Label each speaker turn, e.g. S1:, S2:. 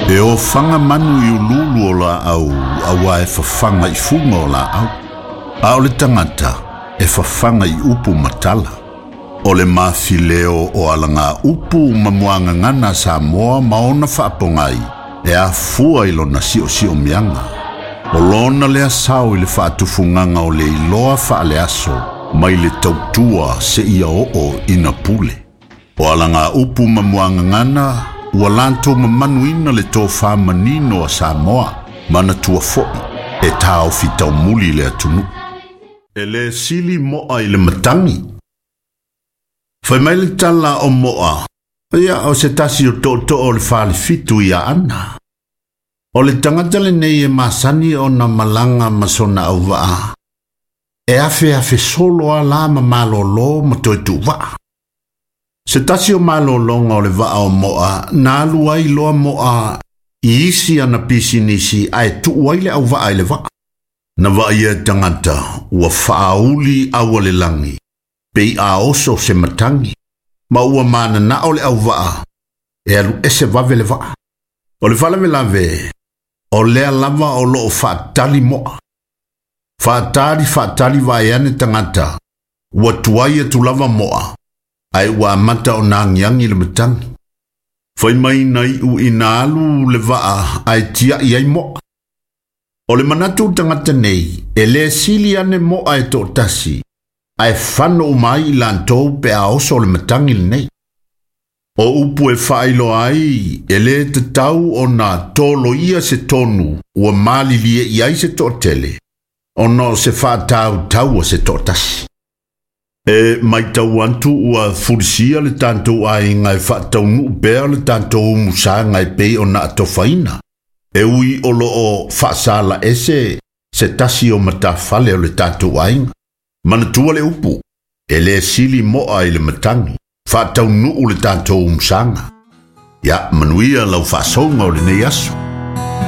S1: E ofaga manu i uluulu o laau auā e fafaga i fuga o laau, a o le tagata e fafaga i upu ma tala. O le mafileo o alaga upu ma muagagana a Samoa ma ona faapogai e afua i lona siosiomiaga. O lona lea sao i le faatufugaga o le iloa faaleaso mai le tautua seia oo ina pule. O alaga upu ma muagagana ua latou mamanuina le tofa manino a Samoa, manatua foi e taofi taumuli le atunuu. E lē sili mo'a i le matagi. Fai mai le tala o mo'a, ia o se tasi o tootoo o le falefitu i Aana. O le tagata lenei e masani ona malaga ma sona auvaa, e afeafe solo a la ma malōlō ma toe tuuvaa. Se tasi o malōlōga o le vaa o Mo'a na alu ai loa Mo'a i isi ana pisinisi ae tuu ai le auvaa i le vaa. Na vaaia e tagata ua faauli aua le lagi, pei a oso se matagi, ma ua mananao le auvaa e alu ese vave le vaa. O le faalavelave, o lea lava o loo faatali Mo'a. Faatali faatali vaai ane tagata, ua tuai atu lava Mo'a, ae ua amata ona agiagi le matagi. Fai mai na iu ina alu le vaa ae tiai ai Mo'a. O le manatu o tagata nei, e lē sili ane Mo'a e toatasi, ae fano uma ai i latou pe a oso le matagi lenei. O upu e faailoa ai, e lē tatau ona toloia se tonu ua malilie i ai se toatele, ona o se faatautaua se toatasi. E matau atu ua fulisia le tatou aiga e faataunuu pea le tatou umusaga e pei ona atofaina, e ui o loo faasala ese se tasi o matafale o le tatou aiga. Manatua le upu, e lē sili mo'a i le matagi, faataunuu le tatou umusaga. Ia manuia lau faasoga o lenei aso.